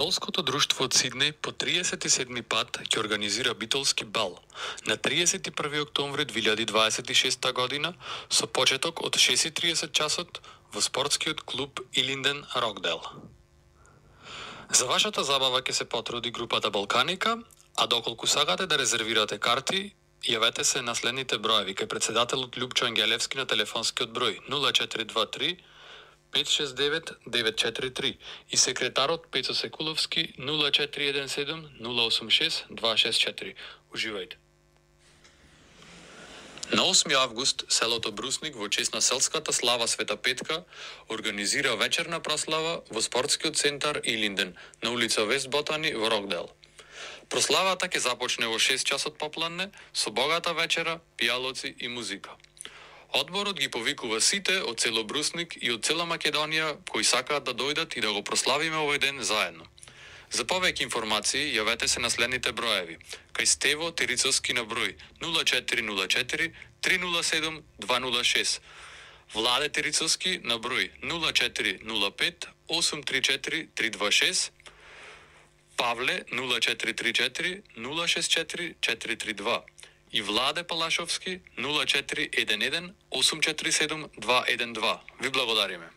Битолското друштво од Сиднеј по 37 пат ќе организира битолски бал на 31 октомври 2026 година со почеток од 6:30 часот во спортскиот клуб Илинден Рокдел. За вашата забава ќе се потруди групата Балканика, а доколку сакате да резервирате карти, јавете се на следните броеви кај председателот Љупчо Ангелевски на телефонскиот број 0423 569 943 и секретарот Пецо Секуловски 0417 086 264. Уживајте. На 8 август селото Брусник во чест на селската слава Света Петка организира вечерна прослава во спортскиот центар Илинден на улица Вест Ботани во Рокдел. Прославата ќе започне во 6 часот попладне со богата вечера, пијалоци и музика. Одборот ги повикува сите од цело Брусник и од цела Македонија кои сакаат да дојдат и да го прославиме овој ден заедно. За повеќе информации јавете се на следните броеви. Кај Стево Терицовски на број 0404 307 206. Владе Терицовски на број 0405 834 326. Павле 0434 064 432 и Владе Палашовски 0411 847 212. Ви благодариме.